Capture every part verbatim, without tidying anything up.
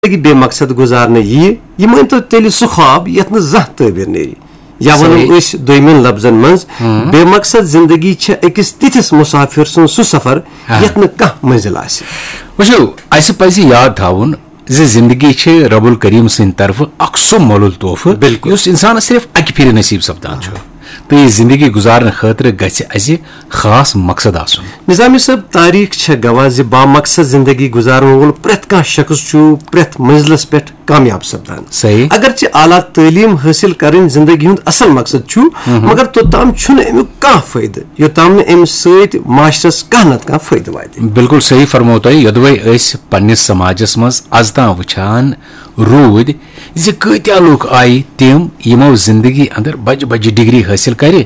زندگی بے مقصد گزارنہٕ ییہِ، یہِ مٲنۍ تو تیٚلہِ سُہ خواب یَتھ نہٕ زانٛہہ تعبیر نیرِ۔ یا وَنو صحیح۔ أسۍ دوٚیمٮ۪ن لفظن منٛز، ہم۔ بے مقصد زندگی چھےٚ أکِس تِتھِس مسافر سُنٛد سُہ سفر، آ۔ یَتھ نہٕ کانٛہہ منزل آسہِ۔ وٕچھِو، اَسہِ پَزِ یاد تھاوُن زِ زندگی چھِ رب الکریم سٕنٛدِ طرفہٕ اکھ سُہ مۄلُل تحفہٕ، بِلکُل۔ یُس اِنسانَس صرف اَکہِ پھِرِ نصیٖب سپدان چھُ۔ تہٕ یہِ زندگی گُزارنہٕ خٲطرٕ گژھِ اَسہِ خاص مقصد آسُن۔ نظامی صٲب، تاریخ چھےٚ گواہ زِ بامقصد زندگی گُزارن وول پرٛٮ۪تھ کانٛہہ شخص چھُ پرٛٮ۪تھ منزلس پٮ۪ٹھ کامیاب سپدان۔ صحیح۔ اگرچہ اعلیٰ تعلیٖم حٲصِل کرٕنۍ زندگی ہُنٛد اصل مقصد چھُ، مگر توٚتام چھُنہٕ امیُک کانٛہہ فٲیدٕ، یوٚتام نہٕ امہِ سۭتۍ معاشرس کانٛہہ نتہٕ کانٛہہ فٲیدٕ واتہِ۔ بِلکُل صحیح فرموو تۄہہِ۔ یوٚدوَے أسۍ پننِس سماجس منٛز از تام وٕچھان روٗدۍ زِ کۭتیاہ لوٗکھ آیہِ تِم، یِمو زندگی اندر بجہِ بجہِ ڈگری حٲصِل کرِ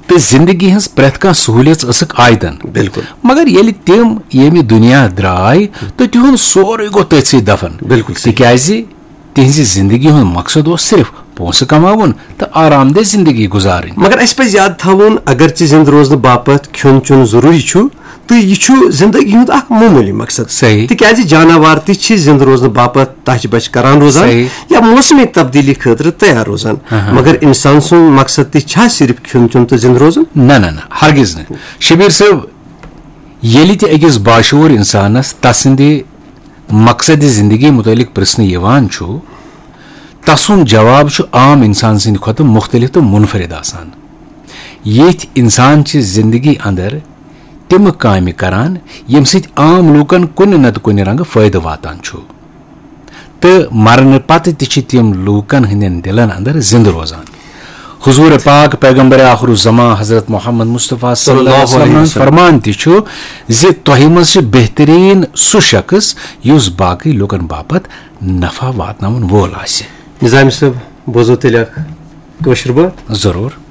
تہٕ زندگی ہٕنٛز پرٛٮ۪تھ کانٛہہ سہوٗلیژ ٲسٕکھ آیتن۔ بِلکُل۔ مگر ییٚلہِ تِم ییٚمہِ دُنیا درٛاے تہٕ تِہُنٛد سورُے گوٚو تٔتھۍ سۭتۍ دفن۔ بِلکُل صحیح۔ تِکیٛازِ تِہنٛزِ زندگی ہُنٛد مقصد اوس صرف پونٛسہٕ کماوُن تہٕ آرام دہ زندگی گُزارٕنۍ۔ مگر اسہِ پزِ یاد تھاوُن، اگرچہِ زندٕ روزنہٕ باپتھ کھیوٚن چیوٚن ضروٗری چھُ، تہٕ یہِ چھُ زندگی ہُنٛد اکھ معموٗلی مقصد۔ صحیح۔ تِکیٛازِ جاناوار تہِ چھِ زندٕ روزنہٕ باپتھ تچھ بچھ کران روزان، صحیح۔ یا موسمی تبدیلی خٲطرٕ تیار روزان۔ ہاں، ہاں۔ مگر انسان سُنٛد مقصد تہِ چھا صرف کھیوٚن چیوٚن تہٕ زندٕ روزُن؟ نہ، نہ، نہ، ہرگز نہٕ۔ شبیر صٲب، ییٚلہِ تہِ أکِس باشعوٗر انسانس تسٕنٛدِ مقصد زندگی متعلق پرژھنہٕ یِوان چھُ، تسُنٛد جواب چھُ عام انسان سٕنٛدِ کھۄتہٕ مختلف تہٕ منفرد آسان۔ یِتھۍ انسان چھِ زندگی اندر تِم کامہِ کران، ییٚمہِ سۭتۍ عام لوٗکن کُنہِ نتہٕ کُنہِ رنگہٕ فٲیدٕ واتان چھُ، تہٕ مرنہٕ پتہٕ تہِ چھِ تِم لوٗکن ہٕنٛدٮ۪ن دِلن اندر زندٕ روزان۔ حضور پاک پیغمبر آخر الزمان حضرت محمد مصطفیٰ صلی اللہ علیہ وسلم ہُنٛد فرمان تہِ چھُ زِ تۄہہِ منٛز چھُ بہتریٖن سُہ شخص یُس باقٕے لوٗکن باپتھ نفع واتناون وول آسہِ۔ نظامی صٲب، بوزو تیٚلہِ اکھ کٲشِر بٲتھ۔ ضروٗر۔